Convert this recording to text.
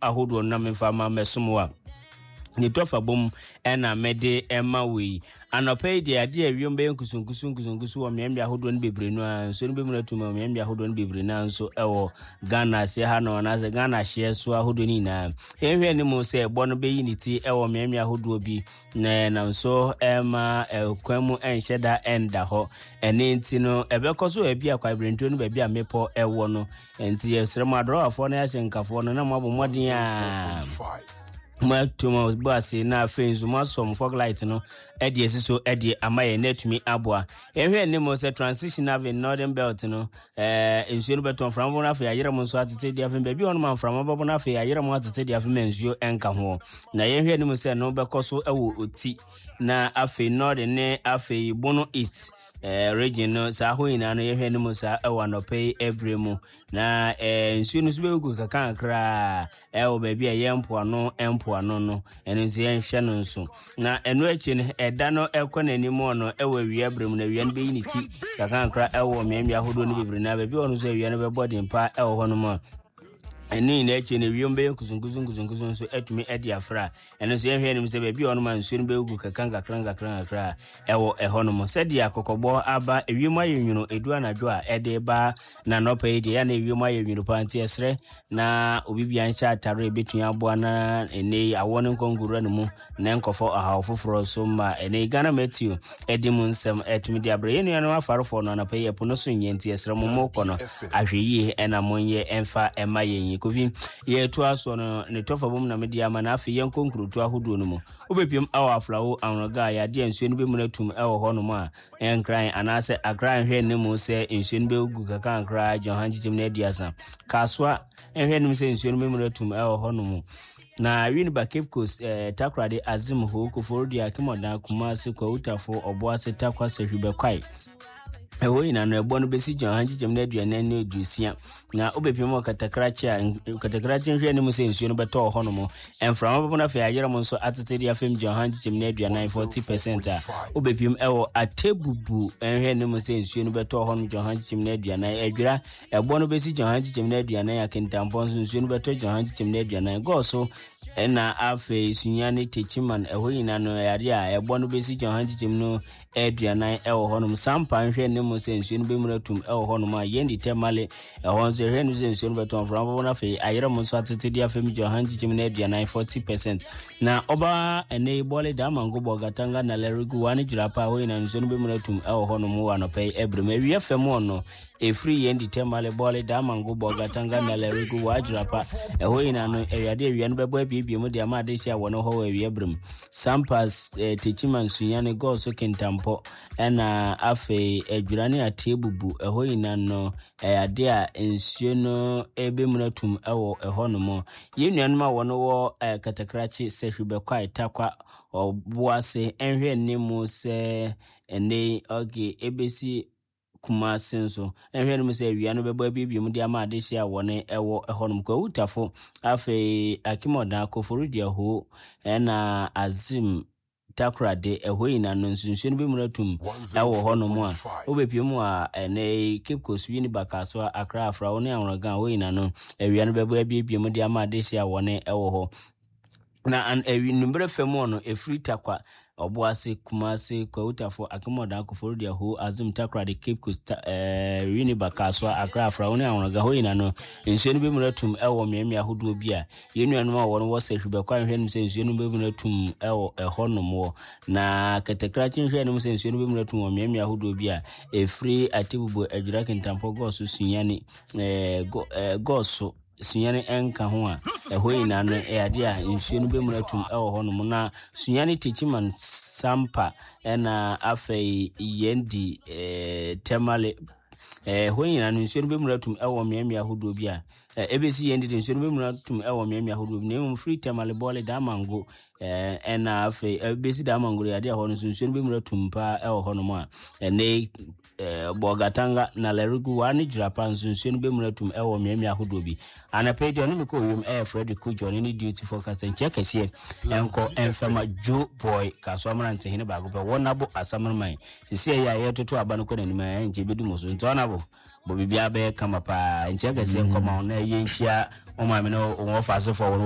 ahodoɔ no na memfa ma mɛsom wo a ne tɔfa bom ɛna mede ɛma wo yi. Anɔpa yi deɛ, adeɛ a wiem bɛyɛ nkusunkusu nkusunkusu wɔ mmeammea ahodoɔ no bebree no ara, nsuo no bɛmuna atum wɔ mmeammea ahodoɔ no bebree no ara nso ɛwɔ Ghana aseɛ ha no anaasɛ Ghana ahyeɛ so ahodoɔ no nyinaa. Yɛnhwɛ anim sɛ ɛbɔ no bɛyi ne ti ɛwɔ mmeammea ahodoɔ bi na ɛnam so ɛma ɛkwan mu ɛnhyɛ da ɛnda hɔ. Ɛne nti no ɛbɛkɔ so baabi a kwaebirentuo no baabi a mmepɔ ɛwɔ no. Nti yɛsrɛ mo adrɔwafoɔ no ahyɛnkafoɔ no na moabɔ mmɔden a moato mo bo ase na afei nso moasɔ mo fog light no de asi so de ama yɛn na atumi aboa. Yɛhwɛ anim sɛ transition ave northern belt no nsuo no bɛtɔ mframa bɔ no afei ayerɛ mo nso atete de afei baabi hɔ no ma mframa bɛbɔ no afei ayerɛ mo atete de afei ma nsuo nka ho. Na yɛhwɛ anim sɛ no bɛkɔ so wɔ Oti na afei northern ne afei Bono East region no saa hɔ nyinaa no yɛhwɛ anim saa ɛwɔ anɔpa yi ɛberɛ mu. Na nsuo no nso bɛgu kakrakra ɛwɔ baabi a ɛyɛ mpoano mpoano no, ɛno nso yɛnhwɛ no nso. Na ɛno akyi no, ɛda no ɛkɔ n'anim no ɛwɔ awia berɛ mu, na awia no bɛyi ne ti kakrakra ɛwɔ mmeammea ahodoɔ no bebree, na baabi hɔ no nso awia no bɛbɔ den paa ɛwɔ hɔ nom a ɛno nyinaa akyi no wiem bɛyɛ nkusunkusu nkusunkusu nso atumi adi afra. Ɛno nso yɛhwɛ anim sɛ baabi a ɔnom a nsuo no bɛgu kakra nkakra nkakra nkakra ɛwɔ ɛhɔ nom. Sɛdeɛ akɔkɔbɔ aba, ewiem ayɛ nwunu edu anadwo a ɛde ba na anɔpa yi deɛ yɛn na ewiem ayɛ nwunu paa, nti ɛsrɛ na obi bia nhyɛ atare a ebetumi aboa na ɛnɛ yi awɔ no nkɔ nkowura ne mu na nkɔfɔ ɔhaw foforɔ so ma. Ɛnɛ yi Ghana Matthew ɛde mu nsɛm ɛtumi de abrɛ yɛn nuanom afarefoɔ no anɔpa yi. Ɛpo no so nyɛ nti ɛsrɛ mo mo kɔ no ahwɛ yie ɛna monyɛ ɛmfa ɛma yɛn yi. Kofi yɛto asoɔ no ne tɔfa bom na mede ama na afei yɛnkɔ nkurotoɔ ahodoɔ no mu. Wobɛpiem awɔ Aflawo Anworoga a yɛadeɛ nsuo no bɛmu no atum ɛwɔ hɔ nom a Nkran anaasɛ Accra nhwɛ ne mu sɛ nsuo no bɛgu kakrakra agye ɔha nkyekyɛm no 30. Kasoa nhwɛ no mu sɛ nsuo no bɛmu no atum ɛwɔ hɔ nom. Na Winneba, Cape Coast, Takoradi, Azim, Ho, Koforidua, Akimɔdan, Kumasi, Kwawutafo, Ɔboase, Tarkwa, Sahwi, Bɛkwae. Ɛhɔ nyinaa no ɛbɔ no bɛsi gya ɔha nkyekyɛm no 40 ne 60. Na wobɛpiem wɔ katakrakye a katakrakye nhwɛ anim sɛ nsuo no bɛtɔ wɔ hɔnom. Mframa bɛbɔ no afei ayerɛ mo nso atete de afam gya ɔha nkyekyɛm no 40, 40% a wobɛpiem ɛwɔ Atebubu nhwɛ anim sɛ nsuo no bɛtɔ wɔ hɔnom gya ɔha nkyekyɛm no 40. Adwira ɛbɔ no bɛsi gya ɔha nkyekyɛm no 40. Akintampɔ nso nsuo no bɛtɔ gya ɔha nkyekyɛm no 40. Gɔɔ so ɛna afei Sunyani, Techiman, ɛhɔ nyinaa no ɛyɛ adeɛ a ɛbɔ no bɛsi gya ɔha nkyekyɛm no 40 wɔ hɔnom. Sampa nhwɛ ne mu sɛ nsuo no bɛmuna tum wɔ hɔnom a yɛndi tɛ male ɛhɔ nso ɛhwɛ no sɛ nsuo no bɛtɔ mframa bɔbɔ no afei ayerɛ mo nso atete de afei gye ɔha nkyekyɛm no 40, 40%. Na ɔba ɛnɛ yi bɔle damango bɔ gatanga na lɛregu wa ne gyira pa hɔ nyinaa nsuo no bɛmuna tum wɔ hɔnom wɔ anɔpa yi ɛberɛ mu. Awia fam no ɛfiri yɛn di tɛmale bɔle damango bɔ gatanga na lɛregu wa gyira pa ɛhɔ nyinaa no awia de awia no bɛbɔ abiebie mu de ama adehye a wɔne hɔ wɔ awia berɛ mu. Sampa, Techiman, Sunyani, Gɔɔso, Kintampo, ɛna afei Adwira ne Atebubu. Ɛhɔ nyinaa no, ɛyɛ ade a nsuo no ɛbɛmuna tum ɛwɔ ɛhɔ nom. Yɛn nuanom a wɔn wɔ Katakrakye, Sahwi, Bɛkwae, Tarkwa, Ɔboase, ɛnhwɛ nne mu sɛ ɛnɛ okay, ɛbɛsi Kumase nso nhwɛ no mu sɛ awia no bɛbɔ abiebie mu de ama adehye a wɔne ɛwɔ ɛhɔnom. Kwawutafo, afei Akimɔdan, Koforidua, Ho, ɛna Azim, Takoradi, ɛhɔ nyinaa no nso nsuo no bɛmuna tum ɛwɔ hɔnom a wobɛpie mu a ɛnɛ Cape Coast, Winneba, Kasoa, Accra, Afrawo ne Anworogan, hɔ nyinaa no awia no bɛbɔ abiebie mu de ama adehye a wɔne ɛwɔ hɔ. Na anwummerɛ fam hɔ no, ɛfiri Tarkwa, Ɔboase, Kumase, Kwawutafo, Akemodan, Koforidua, Ho, Azim, Takoradi, Cape Coast, Winneba, Kasoa, Accra, Afrawo ne Anworoga. Hɔ nyinaa no, nsuo no bɛmuna tum wɔ mmeammea ahodoɔ bi a yɛn nuanom a wɔn wɔ Sahwi bɛkɔ ahwehwɛ nom sɛ nsuo no bɛmuna tum wɔ ɛhɔ nom wɔ. Na Kɛtɛkrakye nhwɛ nom sɛ nsuo no bɛmuna tum wɔ mmeammea ahodoɔ bi a ɛfiri Atebubu, Adwira, Kintampo, Gɔɔso, Sunyani, Gɔɔso, Sunyani nka ho a, ɛhɔ nyinaa no ɛyɛ adeɛ a nsuo no bɛmuna tum ɛwɔ hɔ nom. Na Sunyani, Techiman, Sampa ɛna afei yɛn di Tamale, ɛhɔ nyinaa no nsuo no bɛmuna tum ɛwɔ mmeammea ahodoɔ bi a ɛbɛsi yɛn didi nsuo no bɛmuna tum ɛwɔ mmeammea ahodoɔ bi, na mmom firi Tamale, Bɔle, Damango ɛna afei ɛbɛsi Damango yɛ adeɛ a hɔ no nso nsuo no bɛmuna tum paa ɛwɔ hɔ nom a ɛnɛ Bolgatanga na Lerigu wa ne Jirapa nso nsuo no bɛmuna tum ɛwɔ mmeammea ahodoɔ bi. Anapa yi deɛ ɔne me kɔ wiem ɛyɛ Frederick Kojo, ɔne ne duty forecaster nkyɛ kɛseɛ ɛnkɔ ɛmfɛma Joe Boy Kasoa mmerantehene baako pɛ wɔn abo asamraman sisi ɛyɛ a yɛtoto aba no kɔ n'anim a ɛnkyɛ bɛdu mo so nti ɔnabo bɔ biribiara bɛyɛ kama paa nkyɛ kɛseɛ nkɔma wo na ɛyɛ nkyia wɔn maame no wɔn ɔfa asefoɔ wɔn.